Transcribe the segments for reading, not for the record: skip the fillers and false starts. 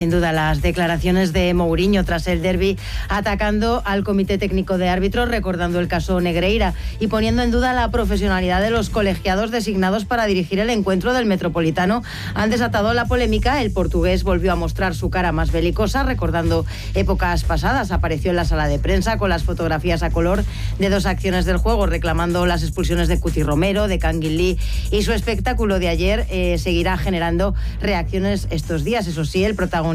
Sin duda, las declaraciones de Mourinho tras el derbi, atacando al Comité Técnico de Árbitros, recordando el caso Negreira y poniendo en duda la profesionalidad de los colegiados designados para dirigir el encuentro del Metropolitano, han desatado la polémica. El portugués volvió a mostrar su cara más belicosa, recordando épocas pasadas. Apareció en la sala de prensa con las fotografías a color de dos acciones del juego, reclamando las expulsiones de Cuti Romero, de Kangin Lee, y su espectáculo de ayer seguirá generando reacciones estos días. Eso sí, el protagonismo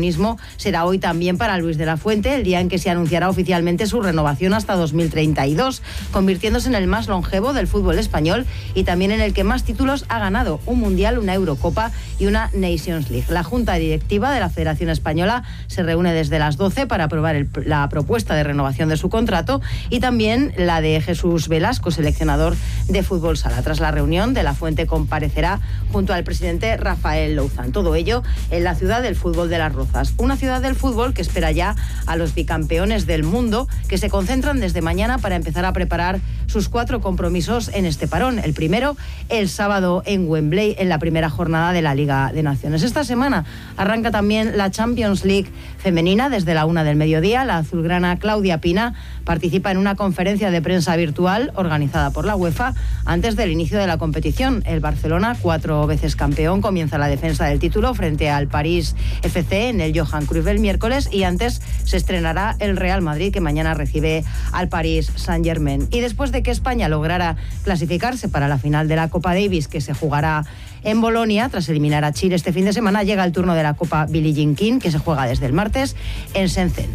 será hoy también para Luis de la Fuente, el día en que se anunciará oficialmente su renovación hasta 2032, convirtiéndose en el más longevo del fútbol español y también en el que más títulos ha ganado: un Mundial, una Eurocopa y una Nations League. La Junta Directiva de la Federación Española se reúne desde las 12 para aprobar la propuesta de renovación de su contrato y también la de Jesús Velasco, seleccionador de fútbol sala. Tras la reunión, de la Fuente comparecerá junto al presidente Rafael Louzán. Todo ello en la ciudad del fútbol de Las Rozas. Una ciudad del fútbol que espera ya a los bicampeones del mundo, que se concentran desde mañana para empezar a preparar sus 4 compromisos en este parón. El primero, el sábado en Wembley, en la primera jornada de la Liga de Naciones. Esta semana arranca también la Champions League femenina desde la 1 del mediodía. La azulgrana Claudia Pina participa en una conferencia de prensa virtual organizada por la UEFA antes del inicio de la competición. El Barcelona, 4 veces campeón, comienza la defensa del título frente al París FC en el Johan Cruyff el miércoles, y antes se estrenará el Real Madrid, que mañana recibe al Paris Saint-Germain. Y después de que España lograra clasificarse para la final de la Copa Davis, que se jugará en Bolonia tras eliminar a Chile este fin de semana, llega el turno de la Copa Billie Jean King, que se juega desde el martes en Shenzhen.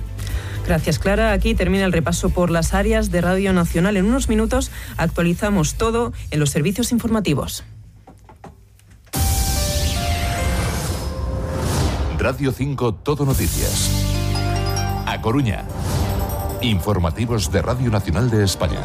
Gracias, Clara. Aquí termina el repaso por las áreas de Radio Nacional. En unos minutos actualizamos todo en los servicios informativos. Radio 5 Todo Noticias. A Coruña. Informativos de Radio Nacional de España.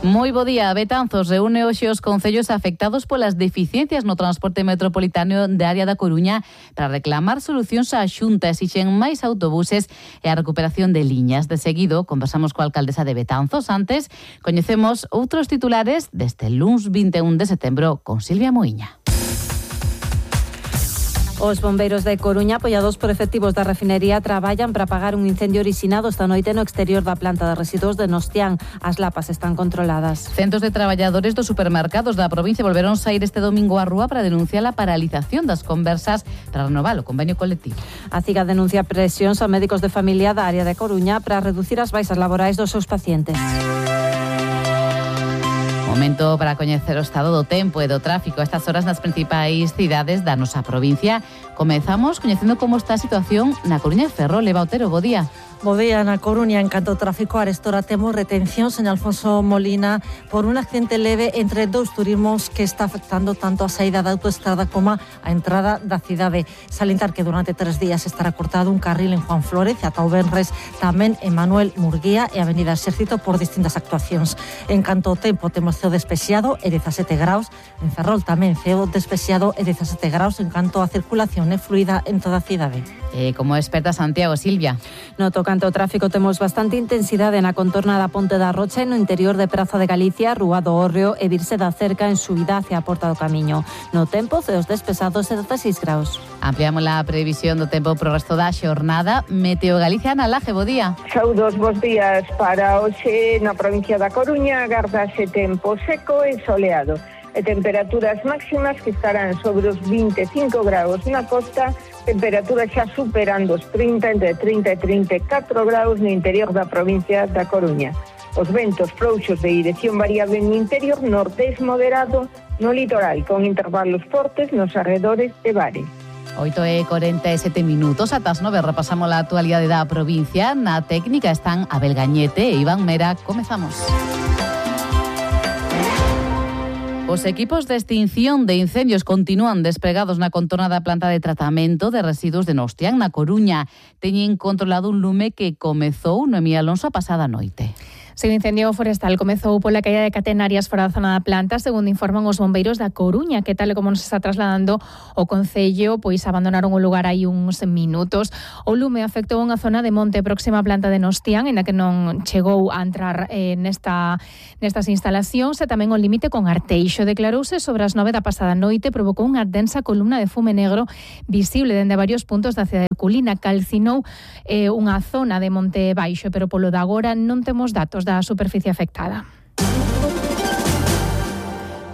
Moi bo día. Betanzos reúne hoxe os concellos afectados polas deficiencias no transporte metropolitano de área da Coruña para reclamar solucións á Xunta. Exixen máis autobuses e a recuperación de liñas. De seguido, conversamos coa alcaldesa de Betanzos. Antes, coñecemos outros titulares deste luns 21 de setembro con Silvia Moiña. Os bombeiros de Coruña, apoiados por efectivos da refinería, traballan para apagar un incendio orixinado esta noite no exterior da planta de residuos de Nostián. As lapas están controladas. Centos de traballadores dos supermercados da provincia volveron saír este domingo á rúa para denunciar a paralización das conversas para renovar o convenio colectivo. A CIGA denuncia presións a médicos de familia da área de Coruña para reducir as baixas laborais dos seus pacientes. Momento para coñecer o estado do tempo e do tráfico a estas horas nas principais cidades da nosa provincia. Comezamos coñecendo como está a situación na Coruña e Ferrol. Eva Otero, bo día. Bo día na Coruña. En canto ao tráfico, arestora temos retencións en Alfonso Molina por un accidente leve entre dous turismos que está afectando tanto a saída da autoestrada como a entrada da cidade. Salientar que durante 3 días estará cortado un carril en Juan Flórez e ata o venres tamén en Manuel Murguía e Avenida Exército por distintas actuacións. En canto ao tempo, temos ceo despexado e 17 graus. En Ferrol tamén ceo despexado e 17 graus. En canto a circulación é fluida en toda a cidade. Como experta Santiago, Silvia. No tocante ao tráfico, temos bastante intensidade na contorna da Ponte da Rocha e no interior de Praza de Galicia, Rúa do Hórreo e Virse da Cerca en subida hacia a Porta do Camiño. No tempo, ceos despesados e 16 graus. Ampliamos a previsión do tempo pro resto da xornada. Meteo Galicia, Ana Laje, bo día. Saúdos, bos días. Para hoxe na provincia da Coruña agardase tempo seco e soleado e temperaturas máximas que estarán sobre os 25 graus na costa, temperaturas xa superando os 30, entre 30 e 34 graus no interior da provincia da Coruña. Os ventos frouxos de dirección variable no interior, nortés moderado no litoral, con intervalos fortes nos arredores de Bares. 8:47 minutos, ata as 9 repasamos a actualidade da provincia. Na técnica están Abel Gañete e Iván Mera. Comezamos. Os equipos de extinción de incendios continúan despregados na contorna da planta de tratamento de residuos de Nostián, na Coruña. Teñen controlado un lume que comezou, Noemí Alonso, a pasada noite. O incendio forestal comezou pola caída de catenarias fora da zona da planta, segundo informan os bombeiros da Coruña, que tal como nos está trasladando o concello, pois abandonaron o lugar hai uns minutos. O lume afectou unha zona de monte próxima á planta de Nostián, en a que non chegou a entrar nestas instalacións, e tamén o límite con Arteixo. Declarouse sobre as 9 da pasada noite, provocou unha densa columna de fume negro visible dende varios puntos da cidade herculina. Calcinou unha zona de monte baixo, pero polo de agora non temos datos da superficie afectada.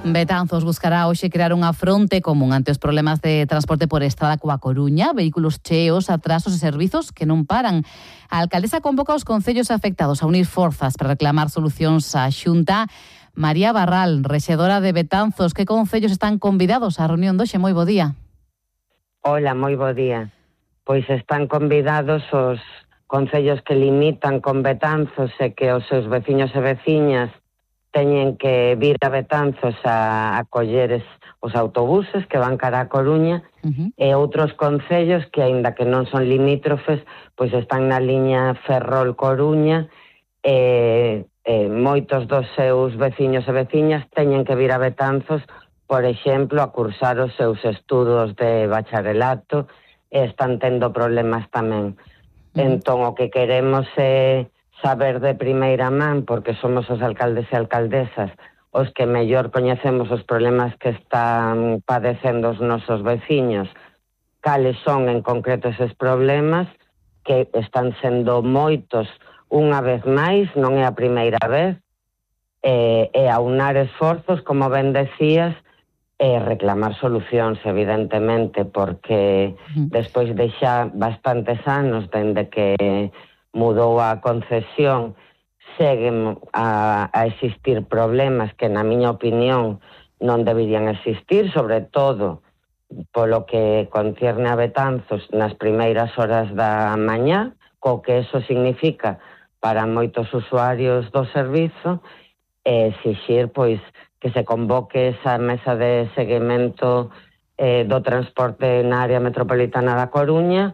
Betanzos buscará hoxe crear unha fronte común ante os problemas de transporte por estrada coa Coruña, vehículos cheos, atrasos e servizos que non paran. A alcaldesa convoca os concellos afectados a unir forzas para reclamar solucións á Xunta. María Barral, rexedora de Betanzos, que concellos están convidados á reunión doxe? Moi bo día. Hola, moi bo día. Pois están convidados os concellos que limitan con Betanzos e que os seus veciños e veciñas teñen que vir a Betanzos a coller os autobuses que van cara a Coruña, e outros concellos que, aínda que non son limítrofes, pois están na liña Ferrol-Coruña, e moitos dos seus veciños e veciñas teñen que vir a Betanzos, por exemplo, a cursar os seus estudos de bacharelato, e están tendo problemas tamén. Entón, o que queremos é saber de primeira man, porque somos os alcaldes e alcaldesas os que mellor coñecemos os problemas que están padecendo os nosos veciños, cales son en concreto eses problemas, que están sendo moitos unha vez máis, non é a primeira vez, e aunar esforzos, como ben decías, e reclamar solucións, evidentemente, porque despois de xa bastantes anos dende que mudou a concesión, seguen a existir problemas que, na miña opinión, non deberían existir, sobre todo polo que concierne a Betanzos nas primeiras horas da mañá, co que eso significa para moitos usuarios do servizo, e exixir, pois, que se convoque esa mesa de seguimento do transporte na área metropolitana da Coruña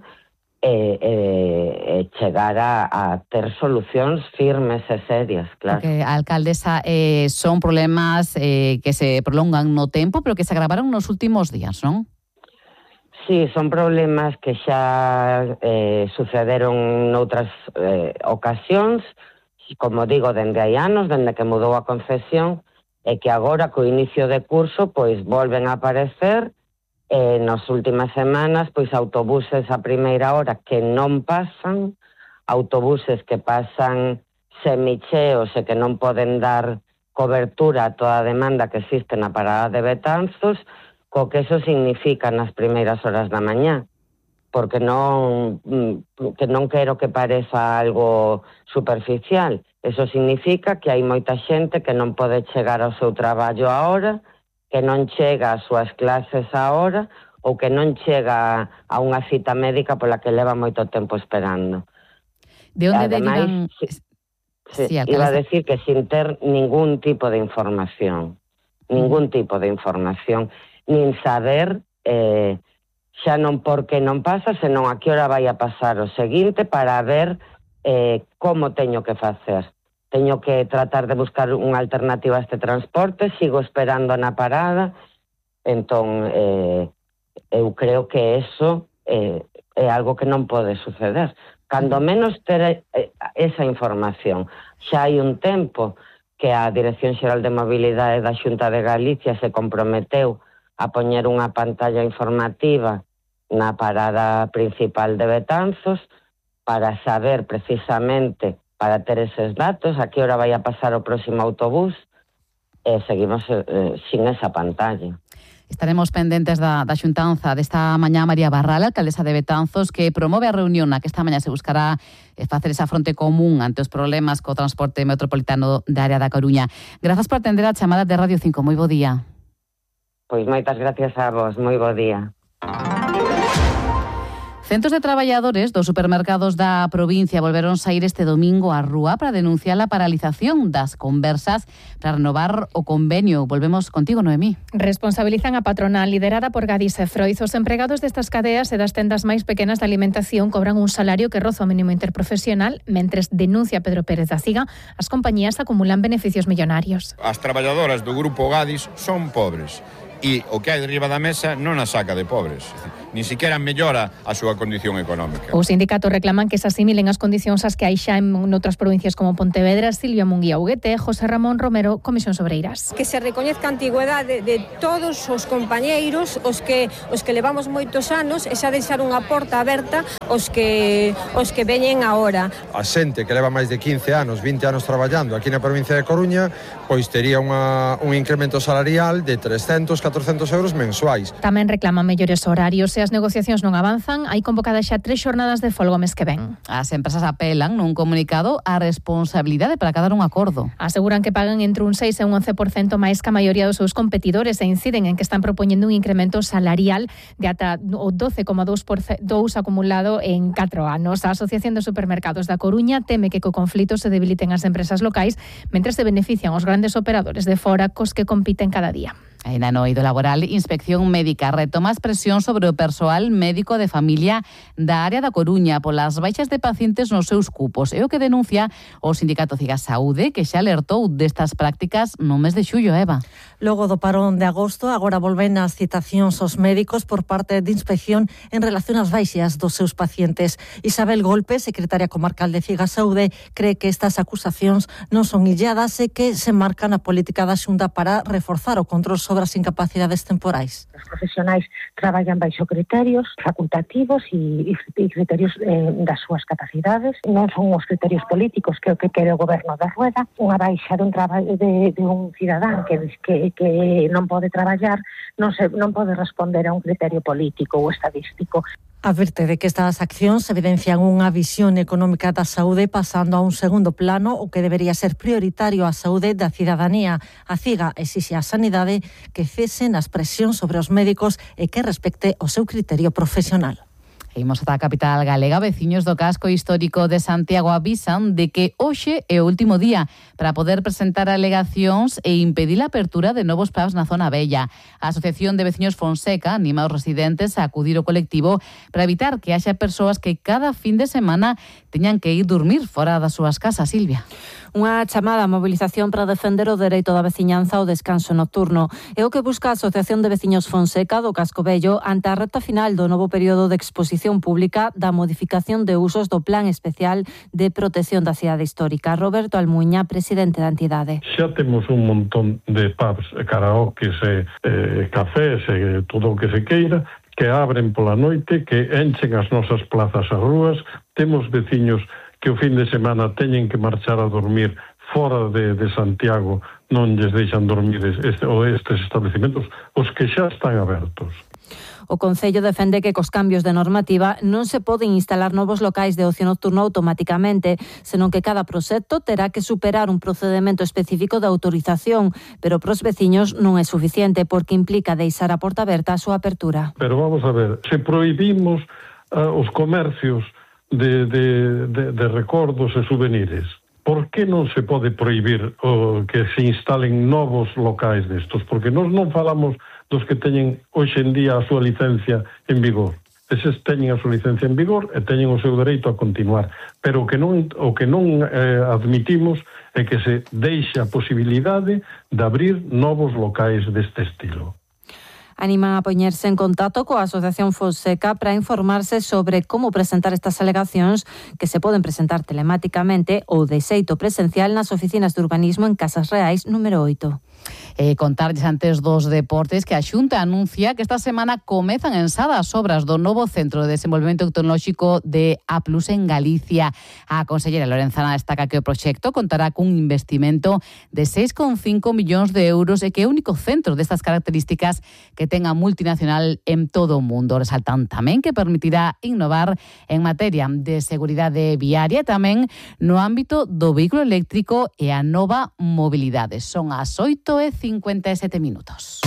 e chegar a ter solucións firmes e serias, claro. Porque, alcaldesa, son problemas que se prolongan no tempo, pero que se agravaron nos últimos días, non? Sí, son problemas que xa sucederon noutras ocasións, como digo, dende hai anos, dende que mudou a concesión, e que agora, co inicio de curso, pois volven a aparecer nas últimas semanas, pois autobuses a primeira hora que non pasan, autobuses que pasan semicheos e que non poden dar cobertura a toda a demanda que existe na parada de Betanzos, co que eso significa nas primeiras horas da mañá, porque non quero que pareza algo superficial. Eso significa que hai moita xente que non pode chegar ao seu traballo a hora, que non chega ás súas clases a hora, ou que non chega a unha cita médica pola que leva moito tempo esperando. De onde derivan... Iba a decir que sin ter ningún tipo de información, nin saber xa non por que non pasa, senón a que hora vai a pasar o seguinte, para ver como teño que facer. Teño que tratar de buscar unha alternativa a este transporte, sigo esperando na parada, entón eu creo que eso é algo que non pode suceder. Cando menos ter esa información. Xa hai un tempo que a Dirección Xeral de Mobilidade da Xunta de Galicia se comprometeu a poñer unha pantalla informativa na parada principal de Betanzos, para saber precisamente, para ter eses datos, a que hora vai a pasar o próximo autobús, e seguimos sin esa pantalla. Estaremos pendentes da xuntanza desta mañá. María Barral, alcaldesa de Betanzos, que promove a reunión na que esta mañá se buscará facer esa fronte común ante os problemas co transporte metropolitano da área da Coruña. Grazas por atender a chamada de Radio 5. Moi bo día. Pois moitas gracias a vos. Moi bo día. Centos de traballadores dos supermercados da provincia volveron saír este domingo á rúa para denunciar a paralización das conversas para renovar o convenio. Volvemos contigo, Noemí. Responsabilizan a patronal liderada por Gadis e Froiz. Os empregados destas cadeas e das tendas máis pequenas de alimentación cobran un salario que roza o mínimo interprofesional, mentres denuncia Pedro Pérez da Ciga, as compañías acumulan beneficios millonarios. As traballadoras do grupo Gadis son pobres e o que hai derriba da mesa non a saca de pobres. Ni siquiera mellora a súa condición económica. Os sindicatos reclaman que se asimilen as condicións as que hai xa en outras provincias como Pontevedra, Silvia Munguía Huguete, José Ramón Romero, Comisións Obreiras. Que se recoñezca a antigüedade de todos os compañeiros, os que levamos moitos anos, e xa deixar unha porta aberta os que veñen agora. A xente que leva máis de 15 anos, 20 anos traballando aquí na provincia de Coruña, pois tería un incremento salarial de 300, 400 euros mensuais. Tamén reclaman mellores horarios. Se as negociacións non avanzan, hai convocadas xa 3 xornadas de folga o mes que ven. As empresas apelan nun comunicado a responsabilidade para acadar un acordo. Aseguran que pagan entre un 6 e un 11% máis que a maioría dos seus competidores e inciden en que están propoñendo un incremento salarial de ata o 12,2% acumulado en 4 anos. A Asociación de Supermercados da Coruña teme que co conflito se debiliten as empresas locais, mentres se benefician os grandes operadores de fora cos que compiten cada día. En ano eido laboral, Inspección Médica retoma as presións sobre o persoal médico de familia da área da Coruña polas baixas de pacientes nos seus cupos. É o que denuncia o Sindicato Ciga Saúde, que xa alertou destas prácticas no mes de xullo, Eva. Logo do parón de agosto, agora volven as citacións aos médicos por parte de Inspección en relación ás baixas dos seus pacientes. Isabel Golpe, secretaria comarcal de Ciga Saúde, cree que estas acusacións non son illadas e que se marcan a política da Xunta para reforzar o control sobre as incapacidades temporais. Os profesionais traballan baixo criterios facultativos e criterios das súas capacidades. Non son os criterios políticos que é o que quere o goberno da Rueda. Unha baixa de un traballo de un cidadán que non pode traballar non pode responder a un criterio político ou estadístico. Advirte de que estas accións evidencian unha visión económica da saúde pasando a un segundo plano, o que debería ser prioritario a saúde da cidadanía. A Ciga exixe á Sanidade que cesen as presións sobre os médicos e que respecte o seu criterio profesional. Imos ata a capital galega. Veciños do casco histórico de Santiago avisan de que hoxe é o último día para poder presentar alegacións e impedir a apertura de novos pubs na zona vella. A Asociación de Veciños Fonseca anima aos residentes a acudir ao colectivo para evitar que haxa persoas que cada fin de semana teñan que ir dormir fora das súas casas, Silvia. Unha chamada a mobilización para defender o dereito da veciñanza ao descanso nocturno. É o que busca a Asociación de Veciños Fonseca do Casco Vello ante a recta final do novo período de exposición pública da modificación de usos do Plan Especial de Protección da Cidade Histórica. Roberto Almuña, presidente da entidade. Xa temos un montón de pubs, karaokes, cafés e todo o que se queira, que abren pola noite, que enchen as nosas plazas as rúas. Temos veciños que o fin de semana teñen que marchar a dormir fora de Santiago, non lles deixan dormir estes establecimentos, os que xa están abertos. O Concello defende que cos cambios de normativa non se poden instalar novos locais de ocio nocturno automáticamente, senón que cada proxecto terá que superar un procedemento específico de autorización, pero pros veciños non é suficiente porque implica deixar a porta aberta a súa apertura. Pero vamos a ver, se prohibimos os comercios de recordos e souvenirs, por que non se pode prohibir que se instalen novos locais destos? Porque nós non falamos dos que teñen hoxe en día a súa licencia en vigor. Eses teñen a súa licencia en vigor e teñen o seu dereito a continuar. Pero o que non admitimos é que se deixe a posibilidade de abrir novos locais deste estilo. Animan a poñerse en contacto coa Asociación Fonseca para informarse sobre como presentar estas alegacións que se poden presentar telemáticamente ou de xeito presencial nas oficinas de urbanismo en Casas Reais número 8. Contarlles antes dos deportes que a Xunta anuncia que esta semana comezan ensadas obras do novo Centro de Desenvolvemento Tecnolóxico de A+ en Galicia. A consellera Lorenzana destaca que o proxecto contará cun investimento de 6,5 millóns de euros e que é o único centro destas características que ten a multinacional en todo o mundo. Resaltan tamén que permitirá innovar en materia de seguridade viaria e tamén no ámbito do vehículo eléctrico e a nova mobilidade. Son as 8:57 minutos.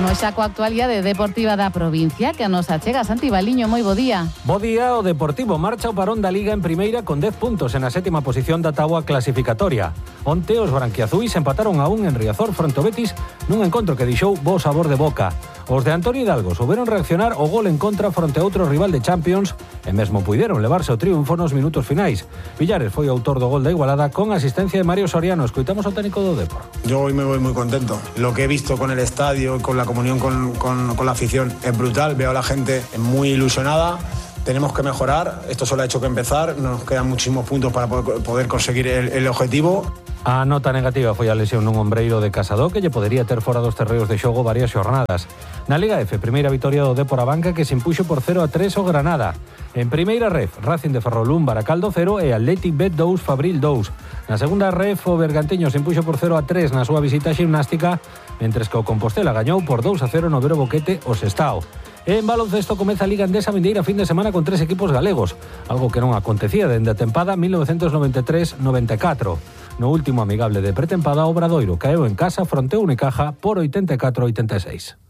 Imos xa coa actualidade deportiva da provincia que nos achega Santi Baliño. Moi bo día. Bo día, o Deportivo marcha o parón da Liga en primeira con 10 puntos en a 7ª posición da táboa clasificatoria. Onte os branquiazuis empataron a 1 en Riazor fronte ao Betis nun encontro que deixou bo sabor de boca. Os de Antonio Hidalgo souberon reaccionar o gol en contra fronte a outro rival de Champions e mesmo puideron levarse o triunfo nos minutos finais. Villares foi o autor do gol da igualada con asistencia de Mario Soriano. Escoitamos ao técnico do Depor. Yo hoy me voy muy contento. Lo que he visto con el estadio, con la comunión con la afición es brutal. Veo a la gente muy ilusionada. Tenemos que mejorar. Esto solo ha hecho que empezar. Nos quedan muchísimos puntos para poder conseguir el objetivo. A nota negativa foi a lesión nun ombreiro de Casado que lle podería ter fora dos terreos de xogo varias xornadas. Na Liga F, primeira vitoria do Depor a Banca que se impuxo por 0-3 o Granada. En primeira ref, Racing de Ferrolún, Baracaldo 0 e Athletic Bet 2, Fabril 2. Na segunda ref, o Bergantiño se impuxo por 0-3 na súa visita ximnástica, mentres que o Compostela gañou por 2-0 no Vero Boquete o Sestao. En baloncesto comeza a Liga Endesa vindeira fin de semana con 3 equipos galegos, algo que non acontecía dende a tempada 1993-94. No último amigable de pretempada, Obradoiro caeu en casa fronte a Unicaja por 84-86.